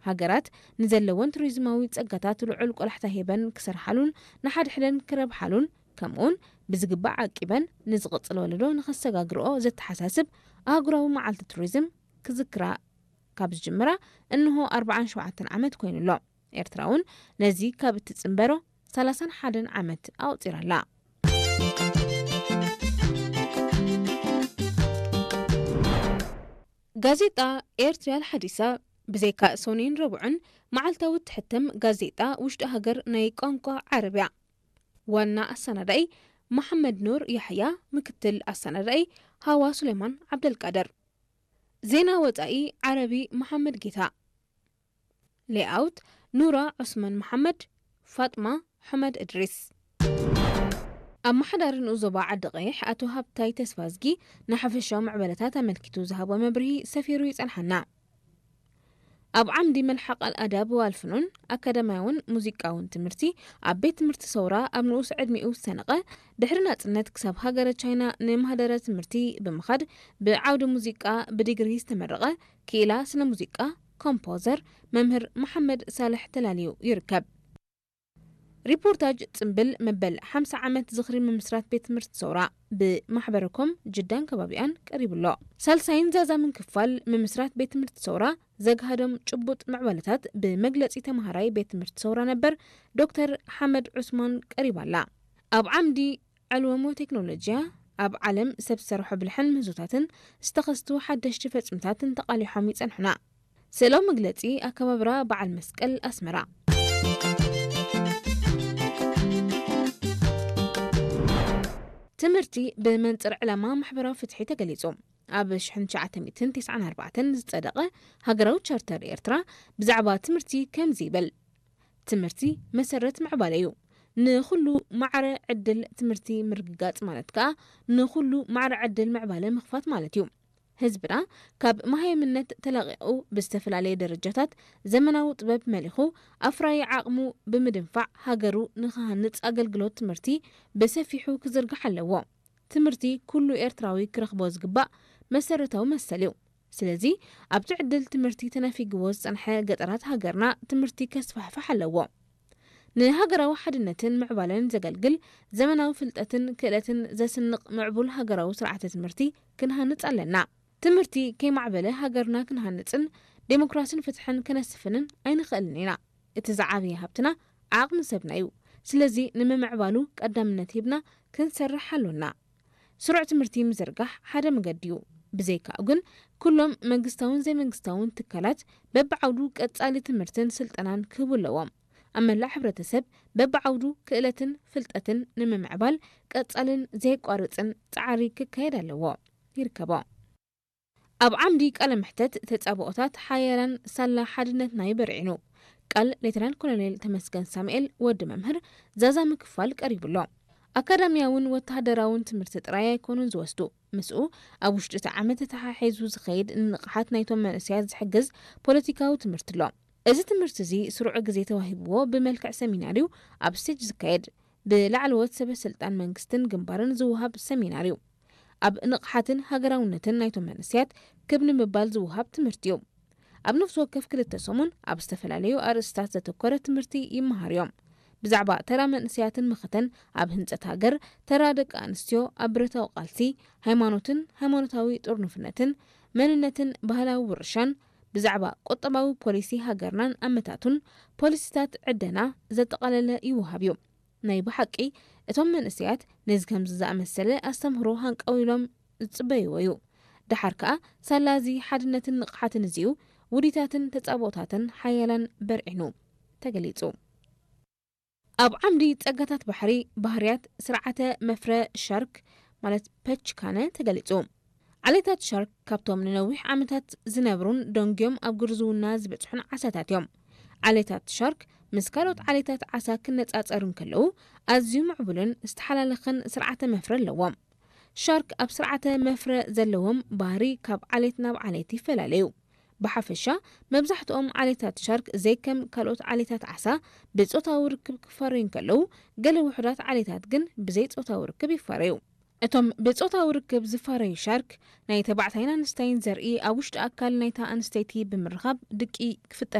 ሃገራት ንዘለወን ቱሪዝማዊ ጸጋታት ልዑል ቆላሕታ ሂበን ክሰርሓሉን ንሓድሕደን ክረብሓሉን፣ ከምኡውን ብዝግባእ ዓቂበን ንዝቕጽል ወለዶ ንኸሰጋግርኦ ዘተሓሳስብ ኣህጉራዊ መዓልቲ ቱሪዝም ክዝክራ ካብ ዝጅምራ እንሆ ኣርባዓን ሸውዓተን ዓመት ኮይኑ ኣሎ። ኤርትራ እውን ነዚ ካብ እትጽንበሮ ሰላሳን ሓደን ዓመት ኣቑጺራ ኣላ። ጋዜጣ ኤርትርያ ኣልሓዲሳ፣ ብዘይካ ሶኒን ረቡዕን፣ መዓልታዊ እትሕተም ጋዜጣ ውሽጢ ሃገር ናይ ቋንቋ ዓረብ እያ። ዋና ኣሰናዳኢ መሓመድ ኑር ያሕያ፣ ምክትል ኣሰናዳኢ ሃዋ ሱሌማን ዓብደልቃድር። ዜና ወጻኢ ዓረቢ መሓመድ ጌታ። ሌኣውት ኑራ ዑስማን መሓመድ፣ ፋጥማ ሑመድ እድሪስ። ኣመሓዳሪ ንኡስ ዞባ ዓዲ ቀይሕ ኣቶ ሃብታይ ተስፋዝጊ ንሓፈሻዊ ምዕበለታት ኣመልኪቱ ዝሃቦ መብርሂ ሰፊሩ ይጸንሓና። ኣብ ዓምዲ መልሓቕ ኣልኣዳብ ወኣልፍኑን ኣካዳሚያውን ሙዚቃውን ትምህርቲ ኣብ ቤት ትምህርቲ ሰውራ ኣብ ንኡስ ዕድሚኡ ዝተነቐ፣ ድሕሪ ናጽነት ክሳብ ሃገረ ቻይና ንማህደረ ትምህርቲ ብምኻድ ብዓውዲ ሙዚቃ ብዲግሪ ዝተመረቐ፣ ክኢላ ስነ ሙዚቃ፣ ኮምፖዘር፣ መምህር መሓመድ ሳልሕ ተላልዩ ይርከብ። ሪፖርታጅ ጽምብል መበል ሓምሳ ዓመት ዝኽሪ ምምስራት ቤት ትምህርቲ ሰውራ ብማሕበረኮም ጅዳን ከባቢኣን ቀሪቡ ኣሎ። ሳልሳይን ዛዛምን ክፋል ምምስራት ቤት ትምህርቲ ሰውራ ዘግሃዶም ጭቡጥ ምዕባለታት ብመግለጺ ተመሃራይ ቤት ትምህርቲ ሰውራ ነበር ዶክተር ሓመድ ዑስማን ቀሪባ ኣላ። ኣብ ዓምዲ ዕልወሞ ቴክኖሎጂያ፣ ኣብ ዓለም ሰብ ዝሰርሖ ብልሕን ምህዞታትን ዝተኸስቱ ሓደሽቲ ፈጽምታትን ተቓሊሖም ይጸንሑና። ስእላዊ መግለጺ ኣከባብራ በዓል መስቀል ኣስመራ። ትምህርቲ ብመንጽር ዕላማ ማሕበራዊ ፍትሒ ተገሊጹ። ኣብ ሽሕን ትሽዓተ ሚእትን ተስዓን ኣርባዕተን ዝጸደቐ ሃገራዊ ቻርተር ኤርትራ ብዛዕባ ትምህርቲ ከምዚ ይብል። ትምህርቲ መሰረት ምዕባለ እዩ። ንኹሉ ማዕረ ዕድል ትምህርቲ ምርግጋጽ ማለት ከኣ ንኹሉ ማዕረ ዕድል ምዕባለ ምኽፋት ማለት እዩ። ህዝብና ካብ መሃይምነት ተላቒቑ ብዝተፈላለየ ደረጃታት ዘመናዊ ጥበብ መሊኹ ኣፍራዪ ዓቕሙ ብምድንፋዕ ሃገሩ ንኽሃንጽ ኣገልግሎት ትምህርቲ ብሰፊሑ ክዝርጋሕ ኣለዎ። ትምህርቲ ኩሉ ኤርትራዊ ክረኽቦ ዝግባእ መሰረታዊ መሰል እዩ። ስለዚ ኣብቲ ዕድል ትምህርቲ ተነፊግዎ ዝጸንሐ ገጠራት ሃገርና ትምህርቲ ከስፋሕፍሕ ኣለዎ። ንሃገራዊ ሓድነትን ምዕባለን ዘገልግል ዘመናዊ ፍልጠትን ክእለትን ዘስንቕ ምዕቡል ሃገራዊ ስርዓተ ትምህርቲ ክንሃንጽ ኣለና። ትምህርቲ ከይማዕበለ ሃገርና ክንሃንጽን ዴሞክራስን ፍትሕን ከነስፍንን ኣይንኽእልን ኢና። እቲ ዝዓበየ ሃብትና ዓቕሚ ሰብና እዩ። ስለዚ ንምምዕባሉ ቀዳምነት ሂብና ክንሰርሕ ኣሎና። ስሩዕ ትምህርቲ ምዝርጋሕ ሓደ መገዲ እዩ። ብዘይካኡ ግን ኩሎም መንግስታውን ዘይመንግስታውን ትካላት በብዓውዱ ቀጻሊ ትምህርትን ስልጠናን ክህቡ ኣለዎም። ኣብ መላእ ሕብረተሰብ በብዓውዱ ክእለትን ፍልጠትን ንምምዕባል ቀጻልን ዘየቋርጽን ጻዕሪ ክካየድ ኣለዎ። ይርከቦ። ኣብ ዓምዲ ቃለ መሕተት ተጻብኦታት ሓያላን ሳላ ሓድነትና ይበርዒኑ። ቃል ሌተናል ኮሎኔል ተመስገን ሳሙኤል ወዲ መምህር ዛዛ ምክፋል ቀሪቡ ኣሎ። ኣካዳሚያውን ወተሃደራውን ትምህርቲ ጥራይ ኣይኮኑን ዝወስዱ። ምስኡ ኣብ ውሽጢ እቲ ዓመት ተተሓሒዙ ዝኸይድ ንንቕሓት ናይቶም መንእሰያት ዝሕግዝ ፖለቲካዊ ትምህርቲ ኣሎ። እዚ ትምህርቲ እዚ ስሩዕ ግዜ ተዋሂብዎ ብመልክዕ ሰሚናር እዩ ኣብ ስቴጅ ዝካየድ። ብላዕለዎት ሰበ ስልጣን መንግስትን ግንባርን ዝወሃብ ሰሚናር እዩ። ኣብ ንቕሓትን ሃገራውነትን ናይቶም መንእሰያት ክብ ንምባል ዝወሃብ ትምህርቲ እዩ። ኣብ ነፍሲ ወከፍ ክልተ ሰሙን ኣብ ዝተፈላለዩ ኣርእስታት ዘተኮረ ትምህርቲ ይመሃር እዮም። ብዛዕባ ተራ መንእሰያትን መኸተን ኣብ ህንጸት ሃገር፣ ተራ ደቂ ኣንስትዮ ኣብ ብረታዊ ቃልሲ፣ ሃይማኖትን ሃይማኖታዊ ጥርኑፍነትን፣ መንነትን ባህላዊ ውርሻን፣ ብዛዕባ ቁጠባዊ ፖሊሲ ሃገርናን ኣመታቱን ፖሊሲታት ዕደና ዘጠቓለለ ይወሃብ እዩ። ናይ ብሓቂ እቶም መንእሰያት ነዚ ከምዚ ዝኣመሰለ ኣስተምህሮ ሃንቀው ኢሎም ዝጽበይዎ እዩ። ደሓር ከኣ ሳላ እዚ ሓድነትን ንቕሓትን እዚኡ ውዲታትን ተጻብኦታትን ሓያላን በርዒኑ ተገሊጹ። ኣብ ዓምዲ ጸጋታት ባሕሪ ባህርያት ስርዓተ መፍረ ሻርክ ማለት ፐችካነ ተገሊጹ። ዓሌታት ሻርክ ካብቶም ንነዊሕ ዓመታት ዝነብሩን ደንጉዮም ኣብ ግርዝውና ዝበጽሑን ዓሳታት እዮም። ዓሌታት ሻርክ ምስ ካልኦት ዓሌታት ዓሳ ክነጻጸሩ እንከለዉ ኣዝዩ ምዕቡልን ዝተሓላለኸን ስርዓተ መፍረ ኣለዎም። ሻርክ ኣብ ስርዓተ መፍረ ዘለዎም ባህሪ ካብ ዓሌት ናብ ዓሌት ይፈላለዩ። ብሓፈሻ መብዛሕትኦም ዓሌታት ሻርክ ዘይከም ካልኦት ዓሌታት ዓሳ ብጾታዊ ርክብ ክፋረዩ እንከለዉ፣ ገለ ውሑዳት ዓሌታት ግን ብዘይ ጾታዊ ርክብ ይፋረዩ። እቶም ብጾታዊ ርክብ ዝፋረዩ ሻርክ ናይ ተባዕታይን ኣንስተይን ዘርኢ ኣብ ውሽጢ ኣካል ናይታ ኣንስተይቲ ብምርኻብ ድቂ ክፍጠር